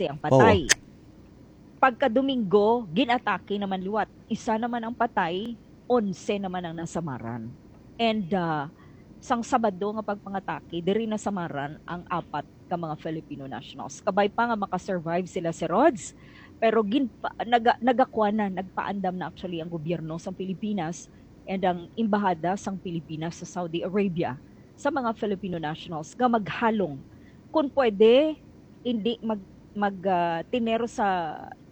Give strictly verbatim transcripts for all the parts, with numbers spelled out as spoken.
ang patay. Pagka Domingo, ginatake naman liwat. Isa naman ang patay, onse naman ang nasamaran. And, ah, sang Sabado nga pagpangatake, diri nasamaran ang apat ka mga Filipino nationals. Kabay pa nga makasurvive sila, si Rods, pero ginpa-, naga-, nagakuan na, nagpaandam na actually ang gobyerno sa Pilipinas and ang embahada sang Pilipinas sa Saudi Arabia sa mga Filipino nationals nga maghalong, kung pwede, hindi mag, mag, ah, tiner sa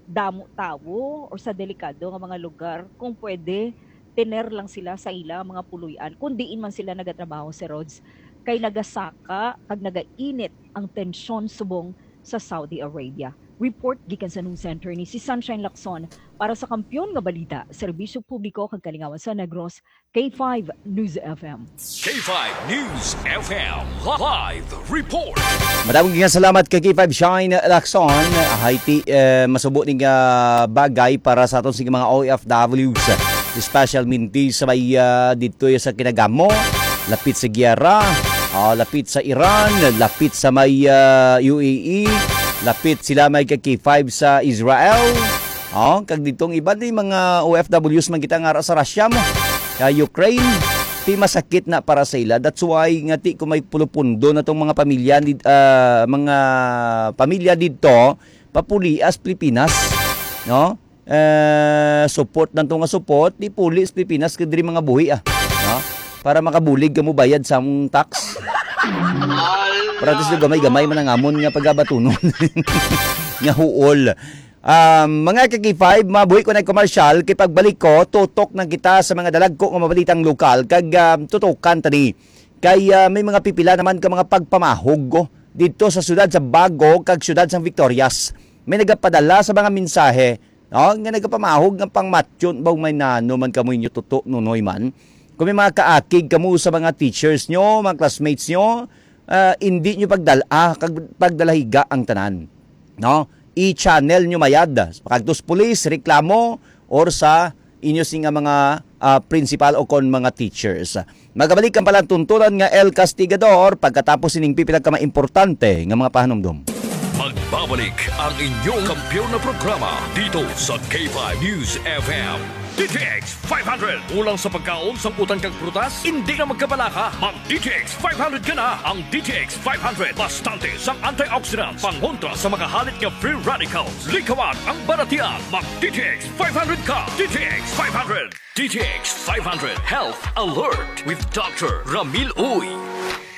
damo tawo or sa delikado nga mga lugar. Kung pwede, tiner lang sila sa ila mga puloy-an, kung diin man sila nagatrabaho, si Rods, kay nagasaka kag nagainit ang tensyon subong sa Saudi Arabia. Report gikan sa News Center ni si Sunshine Lacson para sa Kampiyon nga Balita, Serbisyo Publiko kag Kalingawan sa Negros, K five News F M. K five News F M live report. Madamong nga salamat kay K five Shine Lacson. Haiti, eh, masubo ning, ah, bagay para sa aton sing mga O F Ws, especially sa may, ah, dito sa Kinagamo, lapit sa Giyara, ah, lapit sa Iran, lapit sa may, ah, U A E, lapit sila may kay K five sa Israel. Oh, kag ditong iban ni mga O F Ws man kita nga ara sa Russia mo, sa Ukraine, ti masakit na para sa ila. That's why nga ti ko may pulupundo na tong mga pamilya did-, ah, mga pamilya didto papulias Pilipinas, no? Eh, support lang to nga support, di puli sa Pilipinas kay diri mga buhi, ah. No? Para makabulig ka mo bayad sa among tax. Para at least gamay-gamay man ang amon nga pagabatunon. Nga huol. Um, mga ka-K five, mabuhi ko na commercial, kay pagbalik ko, tutok na kita sa mga dalagko nga mabalitang lokal, kag, um, tutukan tani. Kay, ah, may mga pipila naman ka mga pagpamahog, oh, dito sa siyudad sa Bago, kag siyudad sa Victorias. May nagapadala sa mga mensahe, no, nga nagapamahog nga pangmatyon ba may nano man kamo inyo tuto, nunoy man. Kung may mga kaakig kamo sa mga teachers nyo, mga classmates nyo, ah, hindi nyo pagdala, kag pagdalahiga ang tanan. No? I-channel nyo mayad. Pakadto sa pulis, reklamo, or sa inyo sing nga mga, ah, principal o kon mga teachers. Magabalik ang palatuntunan nga El Castigador pagkatapos sining pipila ka mga importante nga mga pahanumdom. Magbabalik ang inyong kampiyon na programa dito sa K five News F M. D T X five hundred. Kulang sa pagkaon, sangkutan kag prutas? Hindi na magkabalaka. Mag D T X five hundred ka na. Ang D T X five hundred, bastante sang antioxidants, pangontra sa mga halit nga free radicals. Likawan ang baratian. Mag D T X five hundred ka. D T X five hundred. D T X five hundred Health Alert with Doctor Ramil Uy.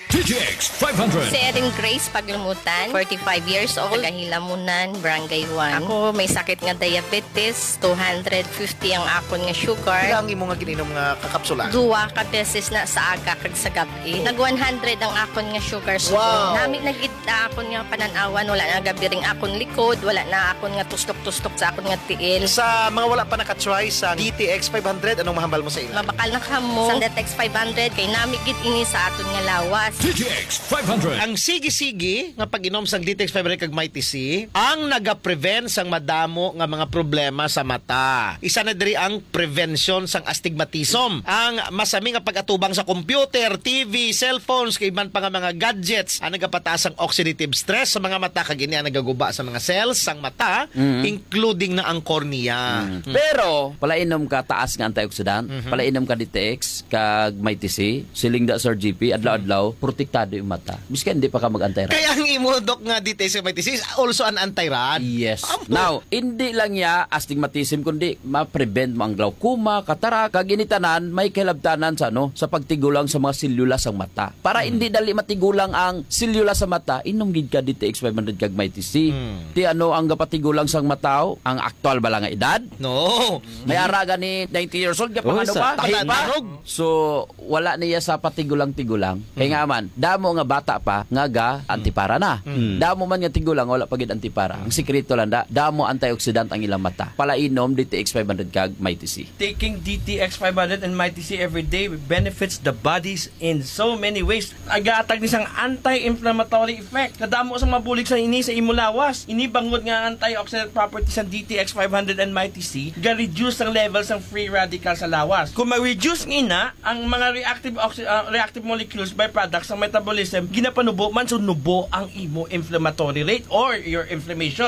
D T X five hundred. Si Erin Grace Paglumutan, forty-five years old, taga Hilamunan, Barangay one. Ako may sakit nga diabetes, two hundred fifty ang akon nga sugar. Pila ang imo nga gininom nga kakapsula? Duwa ka beses na sa aga kag sa gab-i. Nag one hundred ang akon nga sugar subong. Wow! Nami na gid na akon nga panan-awan, wala na gabiring akon likod, wala na akon nga tuslok-tuslok sa akon nga tiil. Sa mga wala pa naka-try sa D T X five hundred, anong mahambal mo sa ila? Mabakal na kamo sang D T X five hundred, kay nami gid ini sa aton nga lawas. D T X five hundred. Ang sige-sige nga pag-inom sang D T X five hundred kag Mighty C, ang nagaprevent sang madamo nga mga problema sa mata. Isa na diri ang prevention sang astigmatism. Ang masami nga pag-atubang sa computer, T V, cellphones, kay iban pa nga mga gadgets, ang nagapataas ang oxidative stress sa mga mata, kag ini ang nagaguba sa mga cells sang mata, Mm. including na ang cornea. Mm. Mm. Pero, palainom ka taas nga antioxidant, Mhm. palainom ka D T X, kag Mighty C, siling da Sir G P, adlaw-adlaw, protektado yung mata. Bisan hindi pa ka mag-anti-rat. Kaya ang imo, Doc, nga D T X kag Mighty C is also an anti-rat. Yes. Amo. Now, hindi lang niya astigmatism, kundi ma-prevent mo ang glaucoma, cataract, kag ini tanan may kahilabtanan sa, ano, sa pagtigulang sa mga selula sang mata. Para Hmm. hindi dali matigulang ang selula sa mata, inom gid ka D T X five hundred kag Mighty C. Hmm. Ti ano ang gapatigulang sang mata, oh? Ang aktual ba lang nga edad? No. May ara gani ninety years old, Uy, gapangano sa pa? Tahi pa? Pananog. So, wala niya sa patigulang-tigulang. Kay Mm. nga man, damo nga bata pa nga ga antipara na. Mm. Damo man nga tigulang, wala pa gid antipara. Ang sikreto lang da, damo antioxidant ang ilang mata. Palainom D T X five hundred kag Mighty C. Taking D T X five hundred and Mighty C every day benefits the bodies in so many ways. Nagahatag ni sang anti-inflammatory effect. Kadamo sang mabulig sa ini sa imo lawas. Ini bangod nga antioxidant properties sang D T X five hundred and Mighty C ga-reduce ang level sang free radical sa lawas. Kung ma-reduce nga ina, ang mga reactive oxy-, ah, reactive molecules, byproducts sang metabolism, ginapanubo man, so nubo ang imo inflammatory rate or your inflammation.